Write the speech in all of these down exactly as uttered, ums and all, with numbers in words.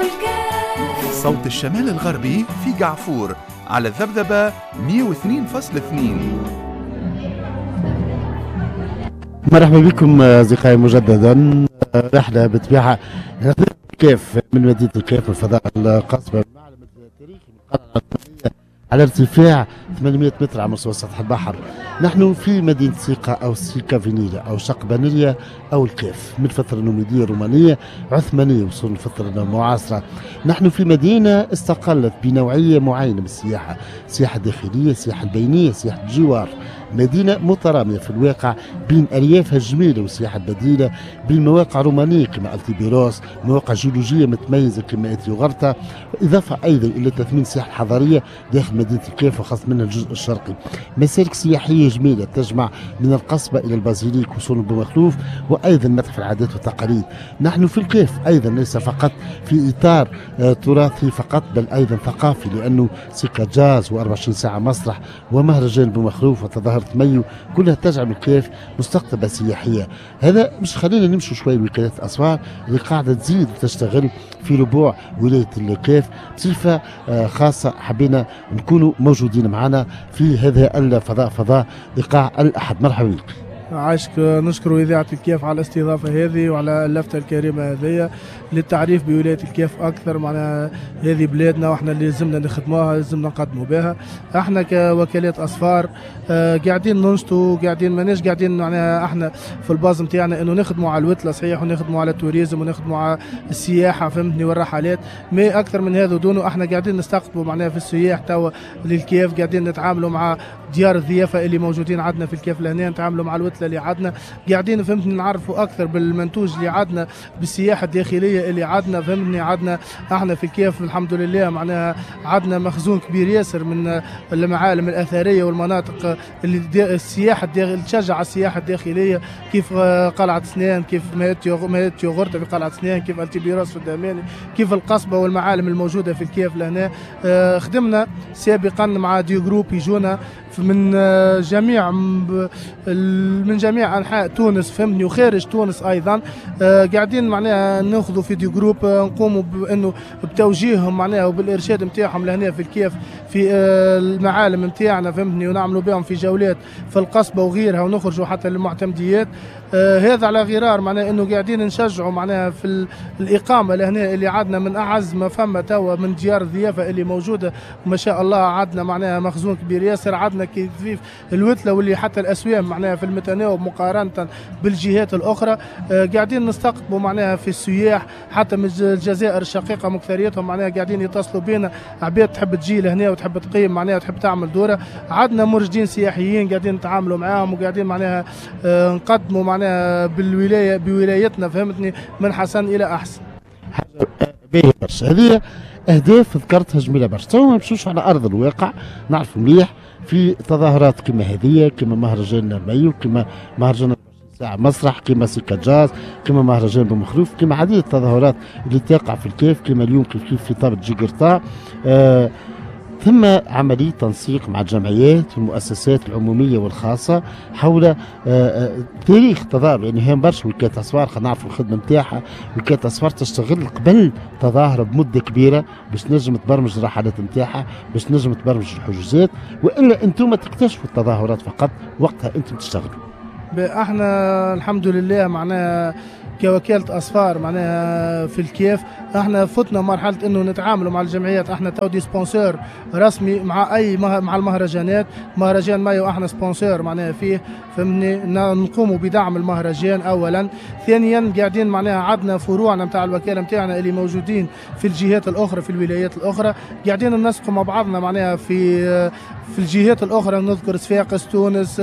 الكاف. صوت الشمال الغربي في قعفور على الذبذبة مئة واثنين فاصلة اثنين. مرحبا بكم أصدقائي مجددا. رحلة بطبيعة الكاف من مدينة الكاف الفضاء القصبة، المعلم التاريخي من القلعة العثمانية على ارتفاع ثمانمئة متر على مستوى سطح البحر. نحن في مدينة سيقا أو سيكا فينيلا أو شقبانية أو الكاف، من الفترة النوميدية الرومانية عثمانية وصول الفترة المعاصرة. نحن في مدينة استقلت بنوعية معينة من السياحة، السياحة الداخلية، السياحة البينية، سياحة الجوار. مدينة مترامية في الواقع بين أريافها الجميلة والسياحة البديلة، بين مواقع رومانية كما التيبيروس، مواقع جيولوجية متميزة كما إتيوغرتا، إضافة أيضا إلى تثمين السياحة الحضارية داخل مدينة الكاف وخاصة منها الجزء الشرقي. مسالك سياحية جميلة تجمع من القصبة إلى البازيليك وصول بومخلوف، وأيضا متحف العادات والتقاليد. نحن في الكاف أيضا ليس فقط في إطار تراثي فقط، بل أيضا ثقافي، لأنه سيكا جاز وأربعة وعشرين ساعة مسرح ومهرجان بومخلوف وتظاهرة مايو كلها تجعل الكاف مستقطبة سياحية. هذا مش خلينا نمشوا شوي لوكالات الأسفار اللي قاعدة تزيد وتشتغل في ربوع ولاية الكاف بصفة خاصة. حبينا نكونوا موجودين معنا في هذا الفضاء، فضاء إيقاع الأحد. مرحبا بك. عايشك. نشكر إذاعة الكاف على الاستضافة هذه وعلى اللفتة الكريمة هذه للتعريف بولاية الكاف أكثر. معنا هذه بلادنا وإحنا اللي لازمنا نخدموها، لازمنا نقدموا بها. إحنا كوكالات أسفار آه قاعدين ننشطوا، قاعدين ماناش قاعدين معناها إحنا في ال base نتاعنا إنه نخدموا على الوتلة صحيح، ونخدموا على ال tourisme، ونخدموا على السياحة فهمتني والرحلات، mais أكثر من هذا دونه إحنا قاعدين نستقطبوا معناها في السياح توا للكاف، قاعدين نتعاملوا مع ديار الضيافة اللي موجودين عندنا في الكاف لهنا، نتعاملوا مع الوتلة اللي عندنا، قاعدين فهمتني نعرفوا اكثر بالمنتوج اللي عندنا، بالسياحة الداخلية اللي عندنا فهمتني. عندنا احنا في الكاف الحمد لله معناها عندنا مخزون كبير ياسر من المعالم الاثرية والمناطق اللي السياحة الداخل تشجع السياحة الداخلية، كيف قلعه سنان، كيف مهات يوغورتا في قلعه سنان، كيف التيبيروس في الدهماني، كيف القصبة والمعالم الموجودة في الكاف لهنا. خدمنا سابقا مع des groupes يجونا من جميع من جميع انحاء تونس فهمتني وخارج تونس ايضا. آه قاعدين معناها ناخذوا في des groupes، آه نقوموا بانه بتوجيههم معناها وبالارشاد نتاعهم لهنا في الكاف في آه المعالم نتاعنا فهمتني، ونعملوا بهم في جولات في القصبة وغيرها، ونخرجوا حتى للمعتمديات. آه هذا على غرار معناها انه قاعدين نشجعوا معناها في الاقامة لهنا اللي عندنا من اعز ما فما توا من ديار الضيافة اللي موجودة ما شاء الله. عندنا معناها مخزون كبير ياسر، عندنا كيف الوتله واللي حتى الاسوام معناها في المتناوب مقارنة بالجهات الاخرى. آه قاعدين نستقطبوا معناها في السياح حتى من الجزائر الشقيقة مكثريتهم معناها قاعدين يتصلوا بينا، عباد تحب تجي لهنا وتحب تقيم معناها وتحب تعمل دوره. عندنا مرشدين سياحيين قاعدين نتعاملوا معاهم وقاعدين معناها آه نقدموا معناها بالولايه بولايتنا فهمتني من حسن الى احسن. حاجة باهيه برشا، هذه اهداف ذكرتها جميلة برشا. تو ما نمشوش على ارض الواقع، نعرف مليح في تظاهرات كما هذه، كما مهرجان مايو، كما مهرجان ساعة مسرح، كما سيكا جاز، كما مهرجان بومخلوف، كما عديد التظاهرات اللي تقع في الكاف، كما اليوم كيف كيف في طابة جيجرتا. آه ثم عملية تنسيق مع الجمعيات والمؤسسات العمومية والخاصة حول آه آه تاريخ تظاهر. يعني هي برشا وكالة أسفار، خلينا نعرفوا الخدمة نتاعها. وكالة أسفار تشتغل قبل تظاهرة بمدة كبيرة باش تنجم تبرمج الرحلات نتاعها، باش تنجم تبرمج الحجوزات، وإلا أنتم تكتشفوا التظاهرات فقط وقتها أنتم تشتغلوا. احنا الحمد لله معناها كوكالة أسفار معناها في الكاف احنا فتنا مرحلة انه نتعاملوا مع الجمعيات. احنا تو des sponsors رسمي مع اي مع المهرجانات، مهرجان مايو احنا sponsor معناها فيه فهمني، نقوموا بدعم المهرجان اولا. ثانيا قاعدين معناها عندنا فروعنا نتاع الوكالة نتاعنا اللي موجودين في الجهات الاخرى في الولايات الاخرى، قاعدين ننسقوا مع بعضنا معناها في في الجهات الاخرى، نذكر صفاقس، تونس،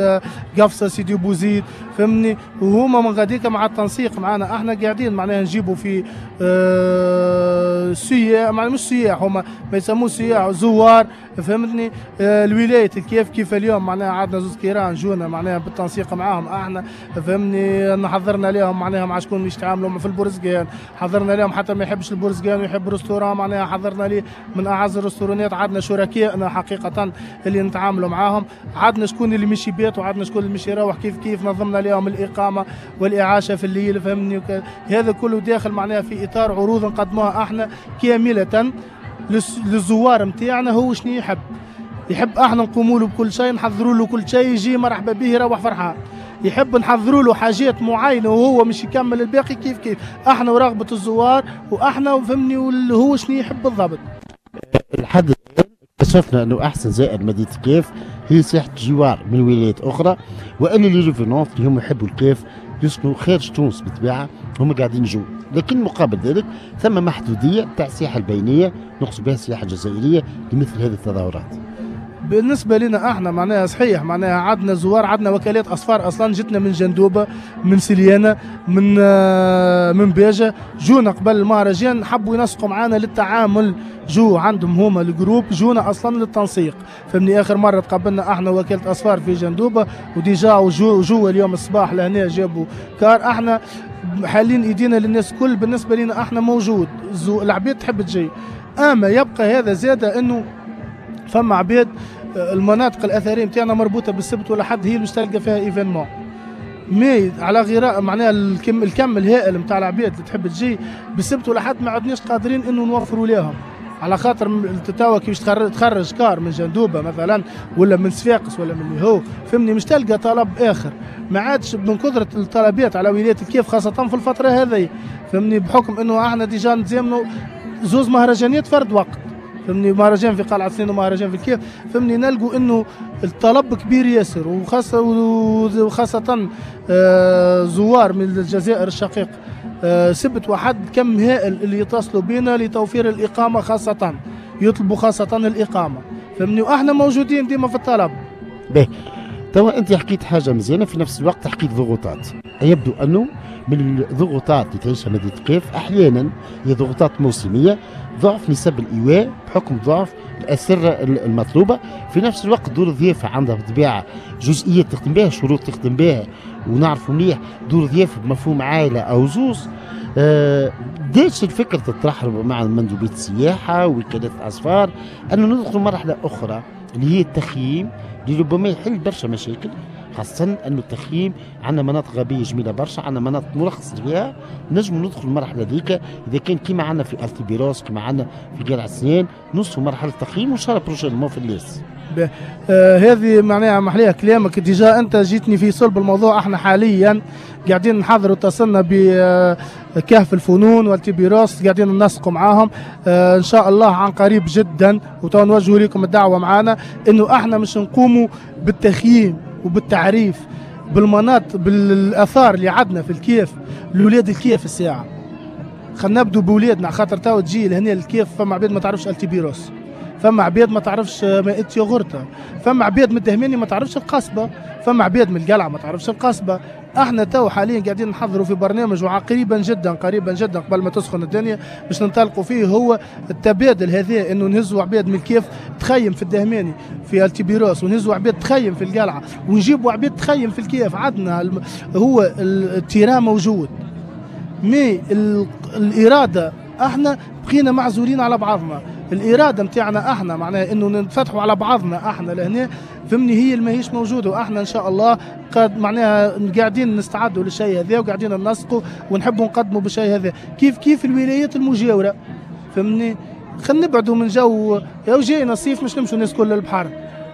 قفصه، سيدي بوزيد فهمني، وهما من غاديك مع التنسيق معنا احنا قاعدين معناها نجيبوا في اه سياح، معناها مش سياح، هما ما يسموه سياح، زوار فهمتني. اه الولاية الكاف كيف اليوم معناها عندنا زوز كيران جونا معناها بالتنسيق معاهم احنا فهمني، حضرنا لهم معناها مع شكون يتعاملوا في البرزقان، حضرنا لهم حتى ما يحبش البرزقان ويحب restaurant معناها حضرنا ليه من اعز الريستورانات. عندنا شركائنا حقيقة اللي نتعاملوا معاهم، عندنا شكون اللي مشي بيت وعندنا شكون اللي مشي يروح كيف كيف، نظمنا لهم الاقامة والاعاشه في الليل فهمني. هذا كله داخل معناها في اطار عروض نقدموها احنا كاملة للزوار نتاعنا. هو شنو يحب؟ يحب احنا نقوموا له بكل شيء، نحضروا له كل شيء، يجي مرحبا به يروح فرحان. يحب نحضروا له حاجات معينة وهو مش يكمل الباقي كيف كيف. احنا ورغبه الزوار واحنا فهمني هو شنو يحب بالضبط. لحد الان اكتشفنا انه احسن زائر مدينة الكاف هي سياحة الجوار من ولايات اخرى، والا les revenants اللي هم يحبوا الكاف يسكنوا خارج تونس بالطبيعة هم قاعدين يجوا، لكن مقابل ذلك ثم محدودية تاع السياحة البينية نقصد بها السياحة الجزائرية لمثل هذه التظاهرات. بالنسبة لنا احنا معناها صحيح معناها عندنا زوار، عندنا وكالات اسفار اصلا جتنا من جندوبه، من سليانه، من من باجه، جونا قبل المهرجان حبوا ينسقوا معانا للتعامل، جو عندهم هما ال groupe جونا اصلا للتنسيق. فهمني اخر مرة تقابلنا احنا وكالة اسفار في جندوبه و déjà جو, جو اليوم الصباح لهنا جابوا car. احنا حالين ايدينا للناس كل، بالنسبة لنا احنا موجود العباد تحب تجي، اما يبقى هذا زاده انه فما عباد المناطق الاثرية نتاعنا مربوطة بالسبت ولا حد هي اللي باش تلقى فيها événement، mais على غير معناها الكم الكم الهائل نتاع العباد اللي تحب تجي بالسبت ولا حد ما عدناش قادرين انه نوفروا لهم، على خاطر توا كي باش تخرج car من جندوبه مثلا ولا من صفاقس ولا من اللي هو فهمني مش تلقى طلب اخر، ما عادش من كثرة الطلبات على ولاية الكاف خاصة في الفترة هذه فهمني، بحكم انه احنا déjà نتزامنوا زوز مهرجانات فرد وقت فهمني، مهرجان في قلعة سنين ومهرجان في الكاف فهمني، نلقوا انه الطلب كبير ياسر، وخاصة وخاصة زوار من الجزائر الشقيق سبت وحد كم هائل اللي يتصلوا بنا لتوفير الإقامة، خاصة يطلبوا خاصة الإقامة فهمني، واحنا موجودين ديما في الطلب. باهي توا انت حكيت حاجة مزيانة، في نفس الوقت حكيت ضغوطات، يبدو انه من الضغوطات اللي تعيشها مدينة الكاف احيانا هي ضغوطات موسمية، ضعف نسب الايواء بحكم ضعف الاسرة المطلوبة، في نفس الوقت دور الضيافة عندها بالطبيعة جزئيات تخدم بها، شروط تخدم بها، ونعرفوا مليح دور الضيافة بمفهوم عائلة او زوز. آه بدات الفكرة تطرح مع مندوبيه السياحة وكالات الاسفار انه ندخل مرحلة اخرى اللي هي التخييم، اللي ربما يحل برشا مشاكل، خاصة أنه التخييم عندنا مناطق غابية جميلة برشا، عندنا مناطق مرخص فيها، نجم ندخل المرحلة ذيك إذا كان كيما عندنا في ألتيبيروس كيما عندنا في قلعة سنان نوصلوا مرحلة التخييم وإن شاء الله prochainement في الليس. آه هذه معناها محليها كلامك، déjà أنت جيتني في صلب الموضوع. احنا حاليا قاعدين نحضروا، اتصلنا بكهف الفنون والتيبيروس قاعدين ننسقوا معاهم، آه ان شاء الله عن قريب جدا، وتو نوجهوا لكم الدعوة معانا انه احنا مش نقوموا بالتخييم وبالتعريف بالمناطق بالاثار اللي عندنا في الكيف لولاد الكيف. الساعة خلينا نبدو بولادنا، خاطر تو تجي لهنا الكيف فما عباد ما تعرفش التيبيروس، فما عباد ما تعرفش مائدة ياغورتا، فما عباد من الدهماني ما تعرفش القصبة، فما عباد من القلعة ما تعرفش القصبة. احنا تو حاليا قاعدين نحضروا في برنامج وقريبا جدا قريبا جدا قبل ما تسخن الدنيا باش ننطلقوا فيه، هو التبادل هذا انه نهزوا عباد من الكيف تخيم في الدهماني في التيبيروس، ونهزوا عباد تخيم في القلعة، ونجيبوا عباد تخيم في الكيف. عندنا هو ال terrain موجود، mais الارادة احنا بقينا معزولين على بعضنا، الارادة نتاعنا احنا معناها انه نتفتحوا على بعضنا احنا لهنا فهمني هي اللي ماهيش موجودة، واحنا ان شاء الله قد معناها قاعدين نستعدوا للشيء هذا وقاعدين ننسقوا ونحبوا نقدموا بالشيء هذا كيف كيف الولايات المجاورة فهمني. خلينا نبعدوا من جو يا جاينا الصيف مش نمشوا الناس كل للبحر،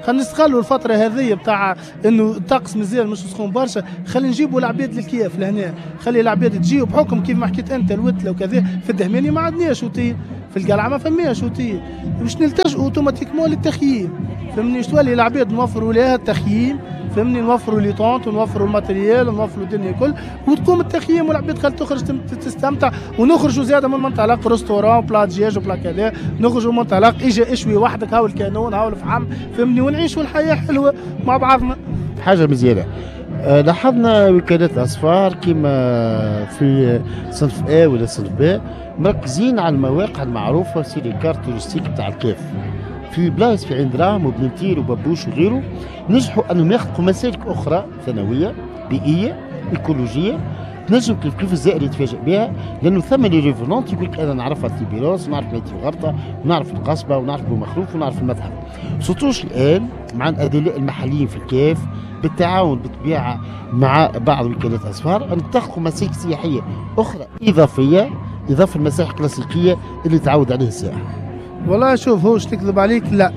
خلينا نستغلوا الفترة هذه بتاع انه الطقس مازال مش سخون برشا، خلينا نجيبوا العباد للكيف لهنا، خلي العباد تجي بحكم كيف ما حكيت انت الوتله وكذا. في الدهماني ما عندناش وتيل، في القلعة ما فماش وتيل، باش نلتجئوا automatiquement للتخييم فهمني. تولي العباد نوفروا لها التخييم فهمني، نوفروا les tentes ونوفروا ال matériel ونوفروا الدنيا الكل، وتقوم التخييم والعباد خل تخرج تستمتع، ونخرجوا زاده من منطلق restaurant plat دجاج و plat كذا، نخرجوا من منطلق اجا اشوي وحدك هاو الكانون هاو الفحم فهمني، ونعيشوا الحياة حلوة مع بعضنا. حاجة مزيانه لاحظنا وكالات الاسفار كما في صنف A ولا صنف B مركزين على المواقع المعروفة sur les cartes touristiques تاع الكاف، في بلايص في عين دراهم وبنتير وبابوش وغيره، نجحوا انهم يخلقوا مسالك اخرى ثانوية بيئية ايكولوجيه تنجم كيف كيف الزائر يتفاجئ بها، لانه ثم les revenants يقول لك انا نعرفها تيبيروس ونعرف مائدة يوغرطة ونعرف القصبة ونعرف بومخروف ونعرف المتحف. surtout الان مع الادلاء المحليين في الكاف بالتعاون بالطبيعة مع بعض وكالات اسفار ان تخلقوا مسالك سياحية اخرى اضافية اضافه المساحة الكلاسيكية اللي تعود عليه السائح؟ والله شوف، هوش تكذب عليك لا،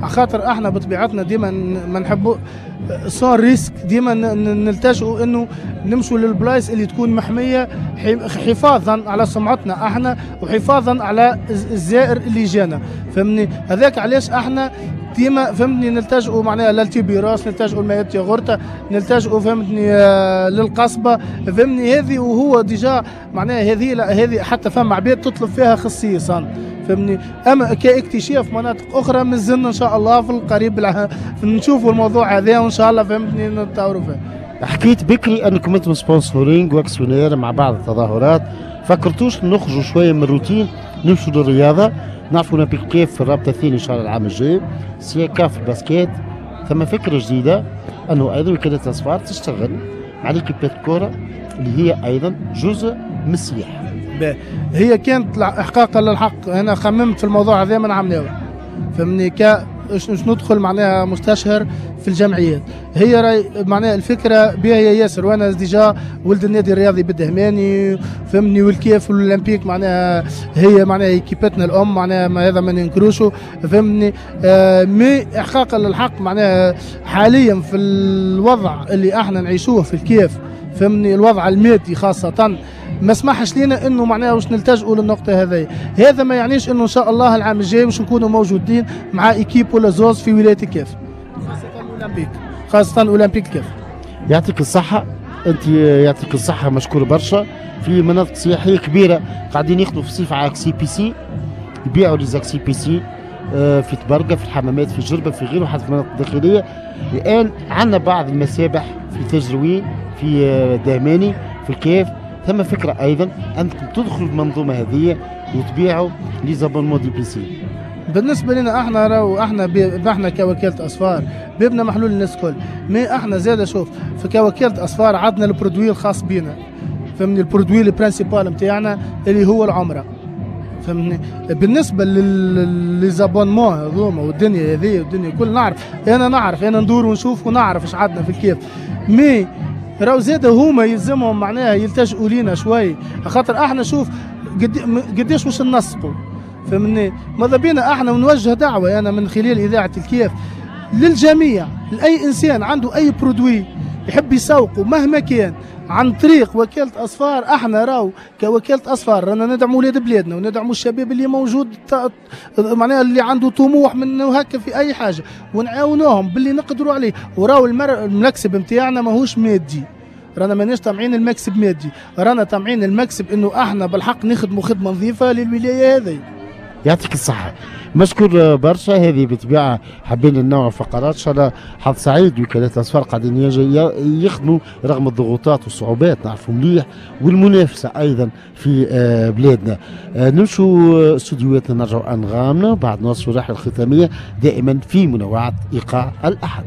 خاطر احنا بطبيعتنا ديما ما نحبوا sans risque، ديما نلتجئوا انه نمشوا للبلايص اللي تكون محمية حفاظا على سمعتنا احنا وحفاظا على الزائر اللي جانا، فهمني؟ هذاك علاش احنا ديما فهمتني نلتجئوا معناها للتيبيروس، نلتجئوا لمائدة ياغورتا، نلتجئوا فهمتني للقصبه، فهمتني هذه. وهو déjà معناها هذه هذه حتى فما عباد تطلب فيها خصيصا، فهمني. اما كاكتشاف مناطق اخرى مازلنا ان شاء الله في القريب نشوفوا الموضوع هذا وان شاء الله فهمتني نتطوروا فيه. حكيت بكري انكم انتم sponsoring و actionnaire مع بعض التظاهرات، فكرتوش نخرجوا شوية من الروتين نمشوا للرياضة؟ نعرفوا اولمبيك كيف في الرابطة الثانية ان شاء الله العام الجاي، سياكا في ال basket، ثم فكرة جديدة انه ايضا وكالة الاسفار تشتغل مع l'équipe ات الكره اللي هي ايضا جزء من السياحة. هي كانت احقاقا للحق انا خممت في الموضوع هذا من عام ناول، فهمني، ك باش ندخل معناها مستشهر في الجمعيات. هي راي معناها الفكرة بها هي ياسر، وانا déjà ولد النادي الرياضي بالدهماني، فهمني، والكيف والاولمبيك معناها هي معناها équipe اتنا الام، معناها ما هذا ما ننكروشو، فهمني. آه mais احقاقا للحق معناها حاليا في الوضع اللي احنا نعيشوه في الكيف، فهمني، الوضع المادي خاصة ما سمحش لنا انه معناها واش نلتجئوا للنقطة هذه. هذا ما يعنيش انه ان شاء الله العام الجاي باش نكونوا موجودين مع équipe ولا زوز في ولاية الكاف، خاصة الاولمبيك، خاصة اولمبيك الكاف. يعطيك الصحة انت، يعطيك الصحة، مشكور برشا. في مناطق سياحية كبيرة قاعدين يخدموا في الصيف على accès piscine، يبيعوا les accès piscine في تبرقه، في الحمامات، في جربه، في غيره، حتى في المناطق الداخلية. الان عندنا بعض المسابح في تجروين، في دهماني، في الكاف. ثم فكرة ايضا انكم تدخلوا المنظومة هذه وتبيعوا les abonnements des piscines. بالنسبة لنا احنا راهو احنا بي احنا كوكاله اسفار بيبنا محلول للناس الكل، mais احنا زاد شوف في كوكاله اسفار عندنا ال produit الخاص بينا، فهمني، ال produit ال principal نتاعنا اللي هو العمرة، فهمني. بالنسبة les abonnements هذوما والدنيا هذه والدنيا كل نعرف، انا نعرف، انا ندور ونشوف ونعرف اش عندنا في الكيف، mais راهو زاد هما يلزمهم معناها يلتجئوا لينا شوي، خاطر احنا شوف قديش واش ننسقوا، فهمني. ماذا بينا احنا ونوجه دعوه انا من خلال اذاعة الكيف للجميع، لاي انسان عنده اي produit يحب يسوقه مهما كان عن طريق وكالة أسفار. احنا راو كوكالة أسفار رانا ندعموا ولاد بلادنا وندعموا الشباب اللي موجود معناها اللي عنده طموح من هكا في أي حاجة، ونعاونوهم باللي نقدروا عليه. وراو المكسب نتاعنا ماهوش مادي، رانا ماناش طامعين المكسب مادي، رانا طامعين المكسب انه احنا بالحق نخدموا خدمة نظيفة للولاية هذه. يعطيك الصحة، مشكور برشا. هذه بالطبيعة حابين ننوع فقرات، ان شاء الله حظ سعيد. وكالات الاسفار قاعدين يخدموا رغم الضغوطات والصعوبات، نعرفوا مليح، والمنافسه ايضا في بلادنا. نمشوا استوديوهاتنا، نرجعوا انغامنا بعد نواصلوا الرحلة الختامية دائما في منوعات ايقاع الاحد.